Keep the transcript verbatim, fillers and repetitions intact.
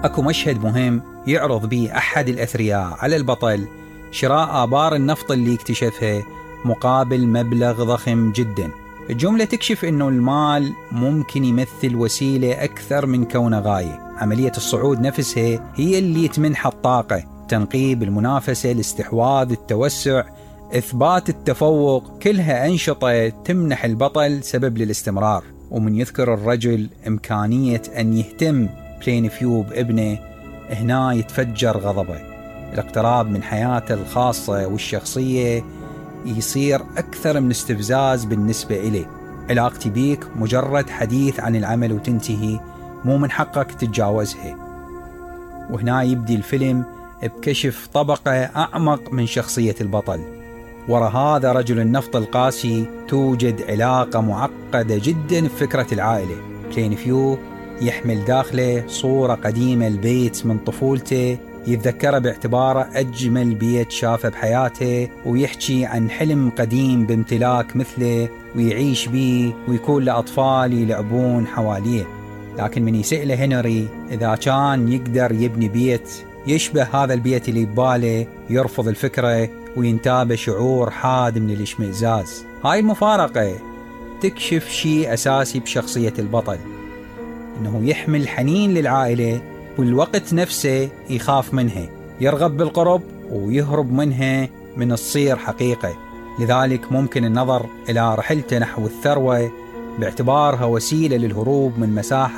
أكو مشهد مهم يعرض به أحد الأثرياء على البطل شراء آبار النفط اللي اكتشفها مقابل مبلغ ضخم جدا. الجملة تكشف أنه المال ممكن يمثل وسيلة أكثر من كونه غاية. عملية الصعود نفسها هي اللي تمنح الطاقة، تنقيب المنافسة، الاستحواذ، التوسع، إثبات التفوق، كلها أنشطة تمنح البطل سبب للاستمرار. ومن يذكر الرجل إمكانية أن يهتم بلين فيو بابنه، هنا يتفجر غضبه. الاقتراب من حياته الخاصة والشخصية يصير أكثر من استفزاز بالنسبة إليه. علاقتي بيك مجرد حديث عن العمل وتنتهي، مو من حقك تتجاوزها. وهنا يبدي الفيلم بكشف طبقة أعمق من شخصية البطل. وراء هذا رجل النفط القاسي توجد علاقة معقدة جدا بفكرة العائلة. بلين فيو يحمل داخله صورة قديمة البيت من طفولته، يتذكره باعتباره أجمل بيت شافه بحياته، ويحكي عن حلم قديم بامتلاك مثله ويعيش بيه ويكون له أطفال يلعبون حواليه. لكن من يسأله هنري إذا كان يقدر يبني بيت يشبه هذا البيت اللي بباله، يرفض الفكرة وينتابه شعور حاد من الاشمئزاز. هاي المفارقة تكشف شيء أساسي بشخصية البطل، إنه يحمل حنين للعائلة والوقت نفسه يخاف منها، يرغب بالقرب ويهرب منها من تصير حقيقة. لذلك ممكن النظر إلى رحلته نحو الثروة باعتبارها وسيلة للهروب من مساحة